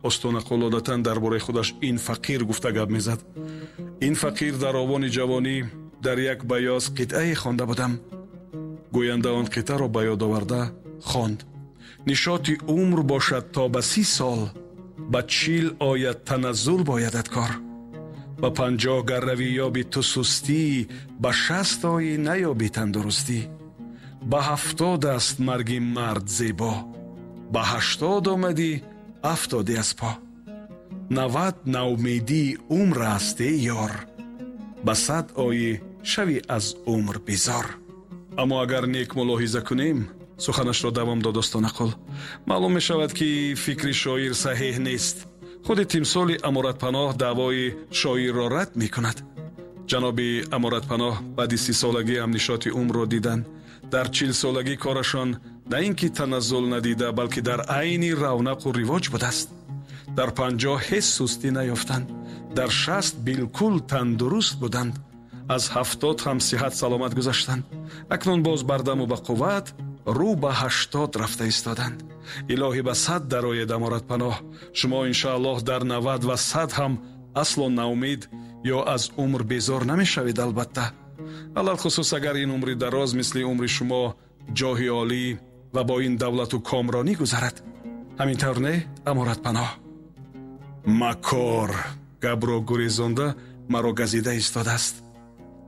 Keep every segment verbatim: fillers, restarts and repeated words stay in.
Остонақул одатан дар бораи худаш ин фақир гуфта гап мезад. Ин фақир дар овони ҷавонӣ дар як баёз қитъае хонда будам. Гӯянда он қитъаро ба ёд оварда хонд. Нишоти умр бошад то ба си сол, ба чил ояд таназзул боядат кор. Ба панҷоҳ гар равӣ ёби ту сустӣ, ба шаст оӣ наёбӣ тандурустӣ. Ба ҳафтод аст марги мард зебо, ба ҳаштод омадӣ афтодӣ аз по. Навад наумедии умр аст эй ёр, ба сад оӣ шавӣ аз умр безор. Аммо агар нек мулоҳиза кунем, суханашро давом дод Остонақул, маълум мешавад, ки фикри шоир саҳеҳ нест. Худи тимсоли Аморатпаноҳ даъвои шоирро рад мекунад. Ҷаноби Аморатпаноҳ баъди сисолагӣ ҳам нишоти умрро диданд. Дар чилсолагӣ корашон на ин ки таназзул надида, балки дар айни равнақу ривоҷ будааст. Дар панҷоҳ ҳеҷ сустӣ наёфтанд, дар шаст билкул тандуруст буданд, аз ҳафтод ҳам сиҳат саломат гузаштанд. Акнун боз бардаму ба қувват рӯ ба ҳаштод рафта истоданд. Илоҳӣ ба сад дароед Аморатпаноҳ. Шумо иншааллоҳ дар навад ва сад ҳам асло наумед ё аз умр безор намешавед. Албатта, алалхусус агар ин умри дароз мисли умри шумо ҷоҳи олӣ ва бо ин давлату комронӣ гузарад. Ҳамин тавр не, Аморатпаноҳ? Макор гапро гурезонда маро газида истодааст.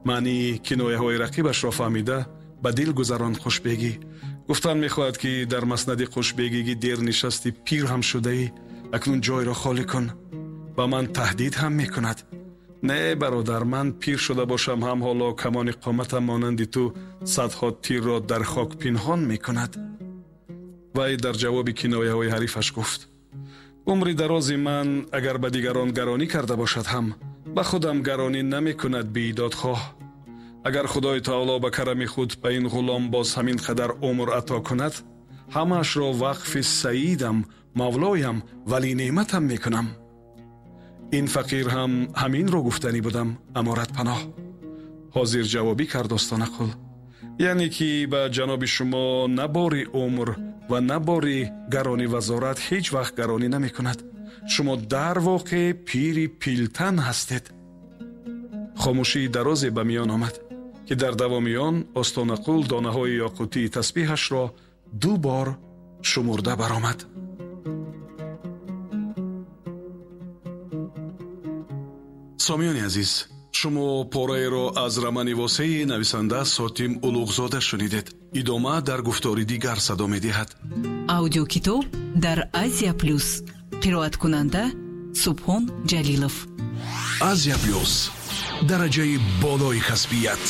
Маънии кинояҳои рақибашро фаҳмида ба дил гузаронд Хушбегӣ. Гуфтан мехоҳад, ки дар маснади Хушбегигӣ дер нишасти, пир ҳам шудаӣ, акнун ҷойро холӣ кун. Ба ман таҳдид ҳам мекунад. Не бародар, ман пир шуда бошам ҳам ҳоло камони қоматам монанди ту садҳо тирро дар хок пинҳон мекунад. Вай дар ҷавоби кинояҳои ҳарифаш гуфт: умри дарози ман агар ба дигарон гаронӣ карда бошад ҳам ба худам гаронӣ намекунад беидодхоҳ. Агар Худои таоло ба карами худ ба ин ғулом боз ҳамин қадар умр ато кунад, ҳамаашро вақфи саидам, мавлоям, вали неъматам мекунам. Ин фақир ҳам ҳаминро гуфтанӣ будам, Аморатпаноҳ. Ҳозир ҷавобӣ кард Остонақул. Яъне ки ба ҷаноби шумо на бори умр ва на бори гаронӣ вазорат ҳеҷ вақт гаронӣ намекунад. Шумо дар воқеъ пири пилтан ҳастед. Хомӯшии дарозе ба миён омад, ки дар давоми он Остонақул донаҳои ёқутии тасбиҳашро ду бор шумурда баромад. Сомиёни азиз, шумо пораеро аз романи восеи нависанда Сотим Улуғзода шунидед. Идома дар гуфтори дигар садо медиҳад. Аудиокитоб дар Азия Плюс. Қироаткунанда Субҳон Ҷалилов. Азия Плюс. Дараҷаи болои касбият.